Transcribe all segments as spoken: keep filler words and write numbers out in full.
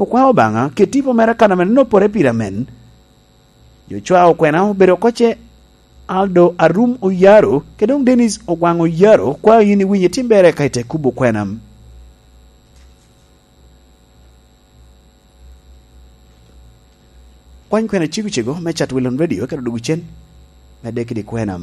Okwao Obaŋa, ket tipo mere kan ame nopore pire amen. Yocwa Okwena obedo oko ce, Aldo Arum Oyaro, kede doŋ Dennis Ogwaŋ Oyaro, kwao yin iwinyo itim ber eka ite kubo kwena. Kwany kwena cego cego me Chat Wilon Radio, kede odugu cen, medde kede kwena.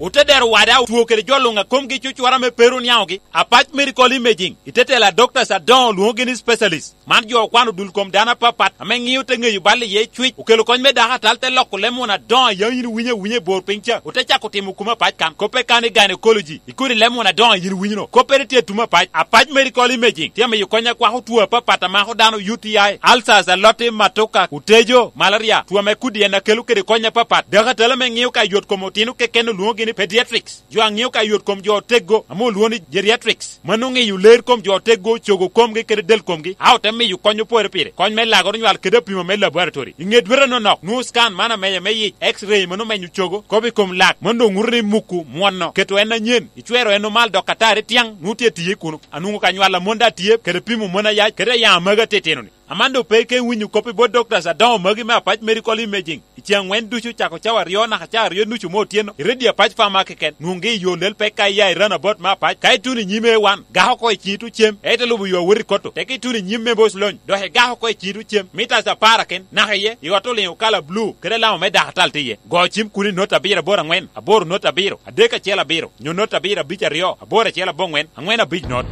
Ote dero wada otwo kede jo luŋ a komgi cucura me pero niaŋogi, Apac Medical Imaging, i te tela doctors adoŋo lwoŋogi ni specialist. Man jo okwano dul kom dano apapat ame ŋio te ŋeyo bal iye cwic, okelo kony me dako atal, te loko leb muna adoŋo a yam yin iwinyo awinya i bor piny ca, ote cako timo kume apac kan, koppe kan i gynecology, i kodi leb muna adoŋo a yin iwinyo no, koppere tye i tume apac. Apac Medical Imaging tye amiyo kony a kwako two apapat a mako dano, U T I, ulcers, aloti, matoka, otejo, malaria, two ame kodi en a kelo kede kony apapat. Dako atal ame ŋio ka yot kom otino keken olwoŋogi ni pediatrics. Jo a ŋeo ka yot kom jo oteggo ame olwoŋo ni geriatrics, mano ŋeyo ler kom jo oteggo, cogo komgi kede del komgi, a ote miyo kony opore pire, kony me lagoro nywal kede apimo me laboratory. I ŋe dwete anonok, nwoŋo scan man ameya me yic, X-ray mano menyo cogo, kop i kom lak, mano doŋ ŋuto ni muku mwono, keto en anyen, icwero en omal dok atari tyaŋ, nwoŋo tye tiye kuno. Anwoŋo ka nywal amon daŋ tye, kede pimo mon ayac, kede ayaŋ amagi atitino-ni. Aman doŋ pe ike winyo kop i bot doctors adoŋo magi me Apac Medical Imaging. I ce aŋwen ducu, cako cawa aryo naka cawa aryo nucu me otyeno, i Radio Apac Farmer keken, nwoŋgi i yo lel pek ka iya i roundabout me Apac. Ka ituno i nyim A one, gak oko i ciŋi tuŋ cem, ite lubo yo awot i Koto. Teke ituno i nyim me Boc Lony, dok igak oko i ciŋi tuŋ cem, mitas apar aken, naka iye, i ot oliŋo kala blu, kede alama me dako atal tye iye. Go cim kuno i not abiro aboro aŋwen, aboro not abiro, adek acel abiro, nyo not abiro abic aryo, aboro acel aboŋwen, aŋwen abic not.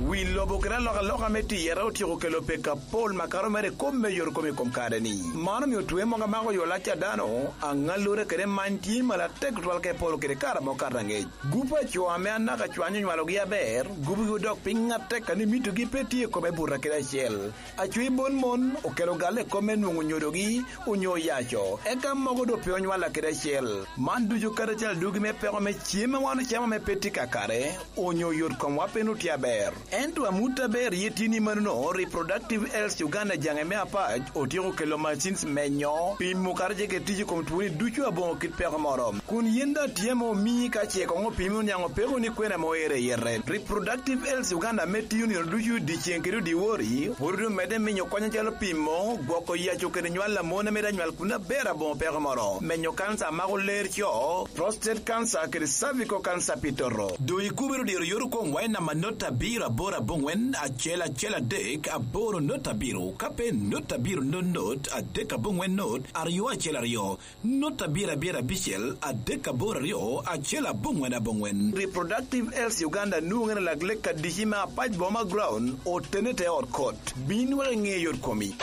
Wi lobo kede alokaloka me tiyere otyeko kelo peko apol makato mere i kop me yot kom i kom kare-ni. Man omio twe mogo amako yo lac a dano, aŋallure kede many tye malo atek tutwal ka i polo kede kare amo kato aŋec. Gup a co ame anaka cwany onywalogi aber, gubogi odok piny atek, kadi mitogi pe tye i kome buto kede acel. Acwi bon mon okelo galle i kom me nwoŋo nyodogi onyo oyaco, eka mogo doŋ pe onywalla kede acel. Man ducu kadi acel adugi me peko me cem a wan ocamo ame pe tye kakare, onyo yot komwa pe nwoŋo tye aber. Ento amut aber ye tye ni manono, Reproductive Health Uganda jaŋe me Apac otyeko kelo machines menyo, pimo kato ce kede tic i kom twoni ducu aboŋo kit peko moro. Kun yin daŋ tye ame omii ka ce koŋ opimi oniaŋ opeko ni kwena ame oero i yete. Reproductive Health Uganda ame tiyo nino ducu dyeceŋ kede odyewor, pwod omedde miyo kony acalo pimo, gwoko yaco kede nywal a mon ame daŋ nywal kun aber aboŋo peko moro, menyo kanca a mako ler co, prostate cancer kede cervical cancer pi toto. Doŋ ikubere odiro yot okomwa i namba not abiro aboro aboŋwen acel acel adek aboro not abiro, ka pe not abiro not not adek aboŋwen not aryo acel aryo. Not abiro abiro abicel adek aboro aryo acel aboŋwen aboŋwen. Reproductive Health Uganda nwoŋere lak lek adici me Apac Boma Ground, otene te ot kot. Bin wek iŋe yot komi.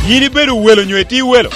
Yin ibedo welo nyo itye welo?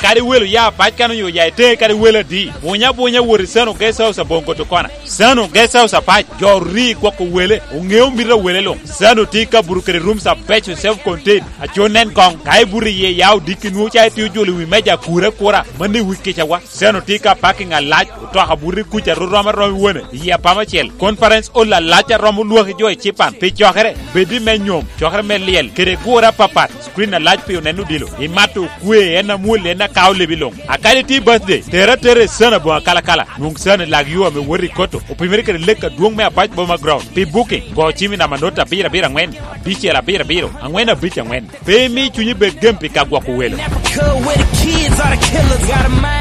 Kadi welo ya Apac kan onyo ya ite, kadi welo adi, bunya bunya wot i Sano Guest House aboŋo Koto Kona. Sano Guest House Apac, jo ori gwoko wele, oŋeo mito a wele luŋ. Sano tye i kabuto kede rooms abeco, self contained, aco nen koŋ. Ka ibuto iye, ya odiki nwoŋo ca itye ojolo i wi meja akura akura, mano i wi kicawa. Sano tye ka parking alac, otoka buto i kuca rom aroma i wone, i apama acel. Conference hall alac a romo lwaki jo i cipan. Pi cokere, bed i me nyom, cokere me lyel, kede gure apapat, screen alac pi oneno odilo. Imato okwe, en amwol, en akao lebi luŋ. A kadi tye birthday, tere atera i Sano aboŋo akalakala. Nwoŋ Sano i lak yo ame wot i Koto, opimere kede lek adwoŋ me Apac Boma Ground. Pi booking, go cim i namba not abiro abiro aŋwen, abicel abiro abiro, aŋwen abic aŋwen. Pe imi cunyi bed gem pi ka gwoko welo.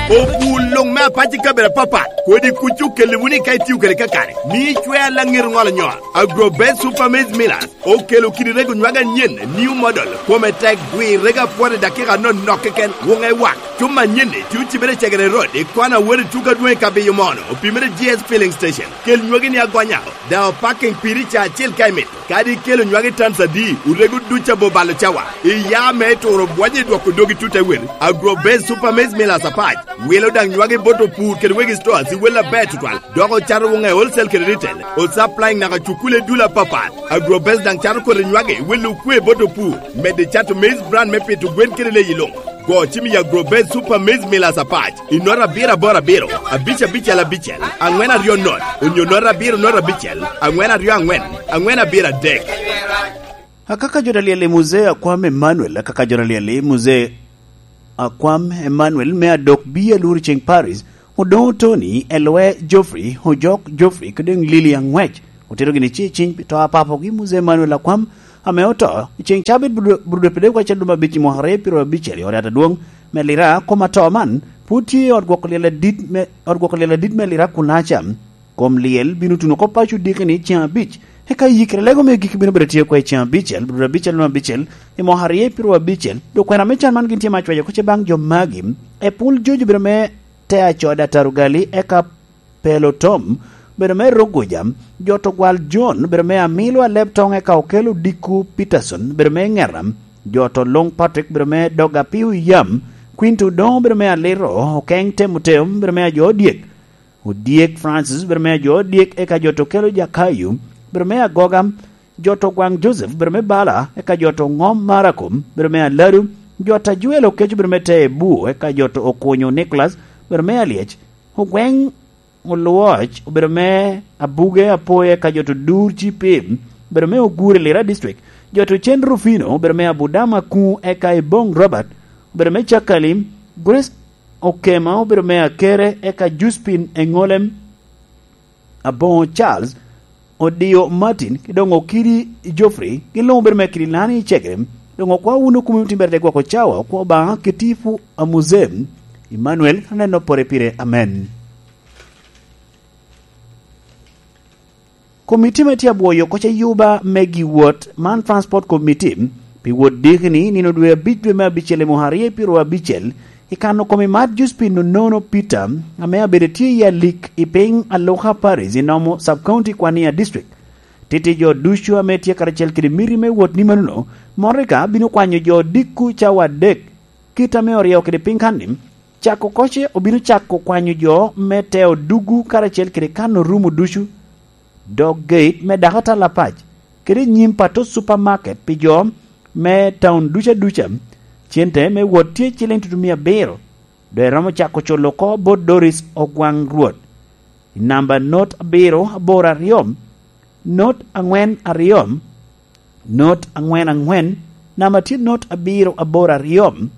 Obul luŋ me Apac i kabedo apapat, kodi kuc okelli wunu i ka itio kede kakare. Mi icwer laŋet ŋolo nyot. Agro Best Super Maize Millers okelo kidi rego nywage anyen, new model, kome tek, gwir rego apwot i dakika anonok keken, wuŋe wak. Cuma anyen-ni tye ocibere i Cegere Road, i kona wot i tuko adwoŋ i Kabiyo Mono, opimere G S Filling Station. Kel nywagi-ni agonya, daŋ opaking piri ca acel ka imito. Kadi ikelo nywagi tans adi, orego duc abor balo cawa. Iya me turo bwonyo i dwoko dogi tut ewel. Agro Base Super Maize Millers Apac wilo daŋ nywagi bot opur kede wegi stores i wel aber tutwal, dok ocato wuŋe wholesale kede retail. Osupplying naka cukule dul apapat. Agro Base daŋ cato kodi nywagi wilo okwe bot opur, medo i cato maize bran me pito gwen kede leyi luŋ. Go cim i Agro Base Super Maize Millers Apac i nota abiro aboro abiro, abic abicel abicel, aŋwen aryo not, onyo nota abiro not abicel, aŋwen aryo aŋwen, aŋwen abiro adek. Akaka jot alyel i Muzee Akwam Emmanuel, akaka jot alyel i Muzee Akwam Emmanuel me Adok Bi Alur Ceng Paris, Odoŋo Tony, Elwe Geoffrey, Ojok Geoffrey, kede Lili Aŋwec, otero gini ci ciny pi to a papogi Muzee Emmanuel Akwam, ame oto i ceŋ cabit Burudwe Pede Kwacal Lum Abic i mwaka aryo pyero abicel i ot yat adwoŋ me Lira. Kom atoo man pwod tye i ot gwoko lyel adit me, ot gwoko lyel adit me Lira kunaca. Kom lyel bino tuno oko paco diki ni ceŋ abic, eka yikere lego me giki bino bedo tye oko i ceŋ abicel, Burudwe Abicel Lum Abicel i mwaka aryo pyero abicel. Dok kwena me can man gin tye me acwayo oko ce baŋ jo magi: Epul Jojo bedo me te acoda Tarugali, eka Pelo Tom bedo me Ruguja, jo to gwal John bedo me Amilo Aleb Toŋ, eka Okelo Dikku Peterson bedo me Ŋera, jo to Luŋ Patrick bedo me Dog Apiu Yam, Quinto Odoŋo bedo me Aliro, Okeŋ Temoteo bedo me Ajo Odyek, Odyek Francis bedo me Ajo Odyek, eka jo to Kelo Jakayo bedo me Agoga, jo to Gwaŋ Joseph bedo me Bala, eka jo to Ŋom Marako bedo me Aladu, jo to Ajuel Okeco bedo me Te Ebu, eka jo to Okunyo Nicholas bedo me Alyec, Ogweŋ Olwoc obedo me Abuge Apoya, eka jo to Dur Cipim obedo me Ogure Lira District, jo to Cen Rufino obedo me Abudama Kuŋ, eka Iboŋ Robert obedo me Cakali, Grace Okema obedo me Akere, eka Juspin Eŋolem, Aboŋo Charles, Odio Martin, ki doŋ Okidi Geoffrey, gin luŋ obedo me Kidilani i Cegere. Doŋ okwa wun okumi otimbere te gwoko cawa, okwa Obaŋa Kitifu Amuzem, Emmanuel, aneno pore pire. Amen. Komiti me tye abwoyo oko ce yuba me gi wot man, Transport Committee, pi wot diki ni nino dwe abic dwe me abicel i mwaka aryo pyero abicel, i kano kom i mat Juspin Onono Peter, ame abedo tye i alik i piny Aluka Parish i Nomo Sub-County Kwania District. Titi jo ducu ame tye karacel kede miti me wot ni manono, motoka bino kwanyo jo dikku cawa adek, kit ame oryewo kede piny kan ni, cako koce obino cako kwanyo jo me te odugu karacel kede kan orumo ducu, dog gate me dako atal apac, kede i nyim pato supermarket pi jo me taun duca duca. Cente me wot tye ciliŋ tutumia abiro, dok eromo cako culo oko bot Doris Ogwaŋ Rwot. I namba not abiro aboro aryo, not aŋwen aryo, not aŋwen aŋwen, namba tye not abiro aboro aryo,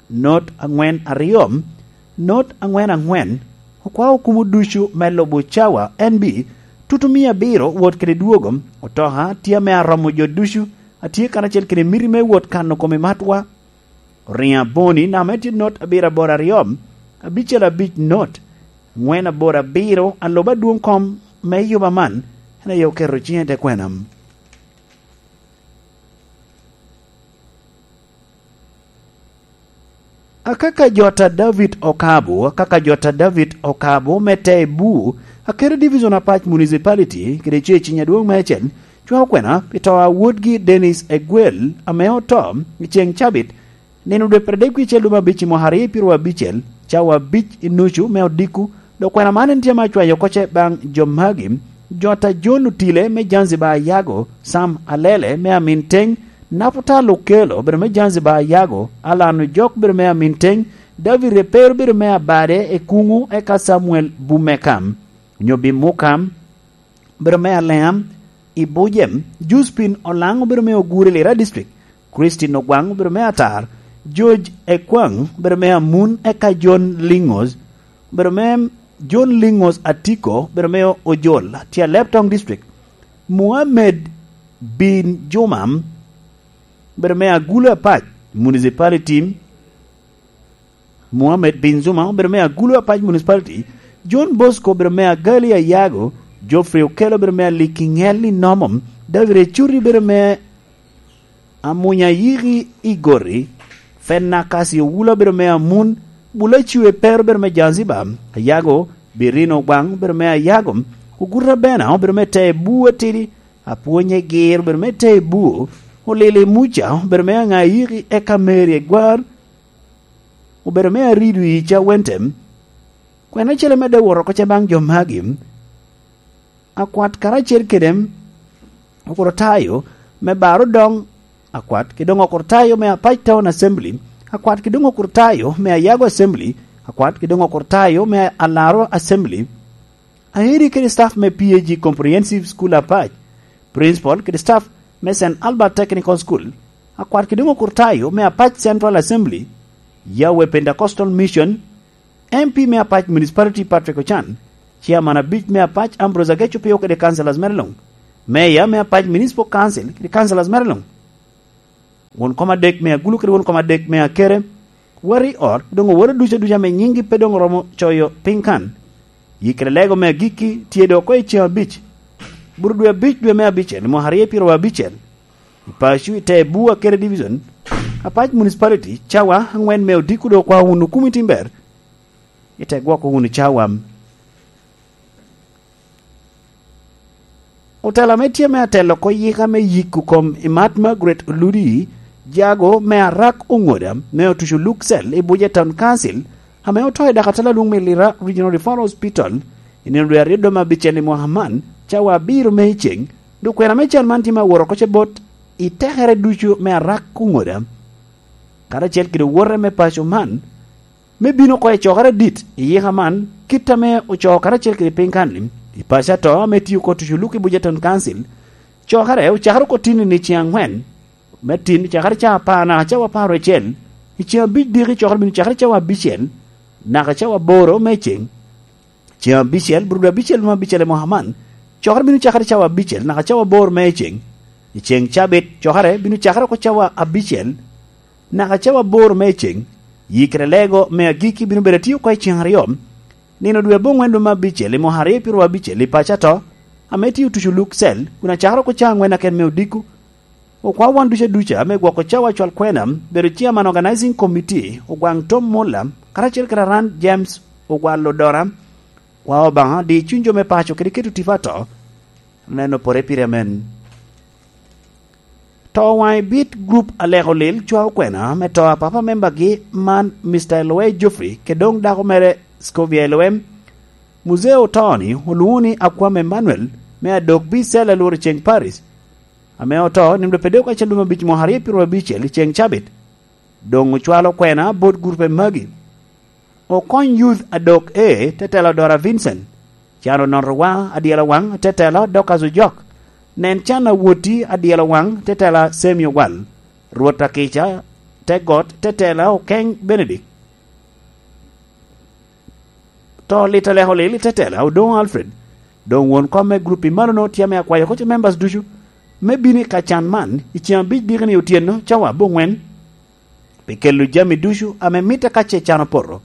not aŋwen aryo, not aŋwen aŋwen. Okwao kumo ducu me lubo cawa N B, tutumia abiro wot kede dwogo, otoka tye ame aromo jo ducu, atye karacel kede miti me wot kano kome matwa. Oriŋo aboni, namba en tye not abiro aboro aryo, abicel abic not, aŋwen aboro abiro, alub adwoŋ kom me yuba man, en aye oketo ciŋe i te kwena. Akaka jot a David Okabo, akaka jot a David Okabo me te Ebu, Akere Division Apac Municipality, kede ce cinya dwoŋ me acel, cwao kwena pi to a wodgi Dennis Egwel, ame oto i ceŋ cabit, nino dwe pradek wie cel lub abic i mwaka aryo pyero abicel, cawa abic i nucu me odiko, dok kwena man en tye ame acwayo oko ce baŋ jo magi: jot a John Otile me Zanzibar Ayago, Sam Alele me Amin Teng, Naputal Okelo bedo me Zanzibar Ayago, Alan Ojok bedo me Amin Teng, David Repero bedo me Abade Ekungu, eka Samuel Bumekam, onyo Bimukam, bedo me Aleam i Bujem, Juspin Olaŋ obedo me Ogure Lira District, Christine Ogwaŋ obedo me Atar, George Ekwaŋ obedo me Amun, eka John Lingos obedo me, John Lingos Atiko obedo me Ojol, tye Aleb Toŋ District, Muhammed Bin Juma obedo me Agulu Apac Municipality, Muhammed Bin Juma obedo me Agulu Apac Municipality, John Bosco obedo me Agali Ayago, Geoffrey Okelo obedo me Aliki Ŋel i Nomo, David Ecuti obedo me Amunya Yiki i Gori, Fenna Kasi Owula obedo me Amun, Bula Ciwe Pero obedo me Zanzibar Ayago, Birino Ogwaŋ obedo me Ayago, Oguta Bena obedo me Te Ebu Atidi, Apwonye Gir obedo me Te Ebu, Olili Muca obedo me Aŋa Yiki, eka Mary Egwar obedo me Aridu i Cawente. Kwena acel amedde wot oko ce baŋ jo magi: Akwat karacel kede Okurtayo me Bar Odoŋ, Akwat kede doŋ Okurtayo me Apac Town Assembly, Akwat kede doŋ Okurtayo me Ayago Assembly, Akwat kede doŋ Okurtayo me Alaro Assembly, Aeri kede staff me P A G Comprehensive School Apac, Principal kede staff me Saint Albert Technical School, Akwat kede doŋ Okurtayo me Apac Central Assembly, Yahweh Pentecostal Mission, M P me Apac Municipality Patrick Ochan, Chairman abic me Apac Ambrose Ageco Pio kede councillors mere luŋ, Mayor me Apac Municipal Council kede councillors mere luŋ, Won kom adek me agulu kede won kom adek me akere, wari ot, doŋ oworo ducu aduca ame nyiŋgi pe doŋ oromo coyo piny kan. Yikere lego me agikki tye doŋ oko i ceŋ abic, bur dwe abic, dwe me abicel, mwaka aryo pyeraryo abicel. I paco i te Bua kede Division, Apac Municipality, cawa aŋwen me odiko doŋ okwao wunu kumi timber i te gwoko wunu cawa. Otelo ame tye me atelo oko yika me yiko kom i mat Margaret Oludi, jago me Arak Oŋoda me otuco Luksel i Buja Town Council, ame oto i dak atela lwong me Lira Regional Referral Hospital, i nino dwe aryo dome abicel i mwaka man, cawa abiro me iceŋ, dok kwena me cal man tye me aworo oko ce bot i tekere ducu me Arak Oŋoda, karacel kede owote me paco man, me bino oko i cokere adit i yika man, kit ame ocoo karacel kede piny kan-ni, i paco ato ame tio oko tuco luk i Buja Town Council. Cokere ocakere oko tin i ceŋ aŋwen, me tin cakere cawa apar naka cawa apar acel, i ceŋ abic diki cokere bino cakere cawa abicel naka cawa aboro me ceŋ. Ceŋ abicel, bur dwe abicel me abicel i mwaka man, cokere bino cakere cawa abicel naka cawa aboro me ceŋ. I ceŋ cabit, cokere bino cakere oko cawa abicel naka cawa aboro me ceŋ. Yikere lego me agikki bino bedo atio oko i ceŋ aryo, nino dwe aboŋwen dwe me abicel i mwaka aryo pyeraryo abicel i paco ato, ame tio tuco Luksel, kun acakere oko cawa aŋwen aken me odiko. Okwao wan ducu aduca me gwoko cawa cwal kwena, bedo Chairman Organizing Committee, Ogwaŋ Tom Mulla, karacel kede Aran James Ogwal Odora. Kwao Obaŋa di cuny jo me paco kede keto tipo ato, neno pore pire amen. To waŋ i bit grup Aleko Lil cwao kwena me to a papa membagi man, Mister Elowe Geoffrey, kede doŋ dako mere Scovia Elowe. Muzee oto-ni olwoŋo ni Akwam Emmanuel, me adok B cell Alworo Ceng Paris, ame oto nino dwe apar dek acel dwe me abic mwaka aryo pyeraryo abicel i ceŋ cabit. Doŋ ocwalo kwena bot gurupe magi. Okony Youth adok A, tetela Dora Vincent, Cano Nonrowa adyela waŋ, tetela Dorcas Ojok, Nen Can Awoti adyela waŋ, tetela Semi Owal, Rwot Akica, Te Got, tetela Okeny Benedict. To lit Aleko Lil i tetela Odoŋo Alfred. Doŋ won kom me grup i malono tye ame akwayo oko ce members ducu me bino i ka can man i ceŋ abic diki-ni otyeno cawa aboŋwen, pi kelo jami ducu ame mitte ka ce can opoto.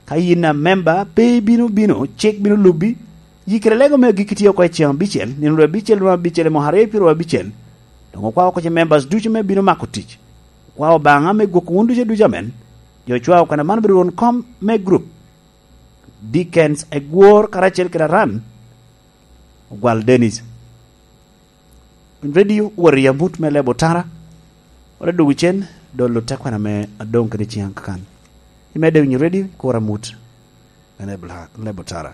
Ka yin a memba pe ibino bino, cik bino lubbi. Yikere lego me agikki tye oko i ceŋ abicel, nino dwe abicel dwe abicel i mwaka aryo pyeraryo abicel. Doŋ okwao oko ce members ducu me bino mako tic. Okwao Obaŋa me gwoko wun ducu aduca amen. Jo ocwao kwena man obedo won kom me grup. Dickens Egwor karacel kede Aran Ogwal Dennis. Redio wot i amut me lebo tara, wot adugu cen, dolo tekwena me adoŋ kede ciŋ kakan. Imedde winyo redio, kur amut me lebo la-, lebo tara.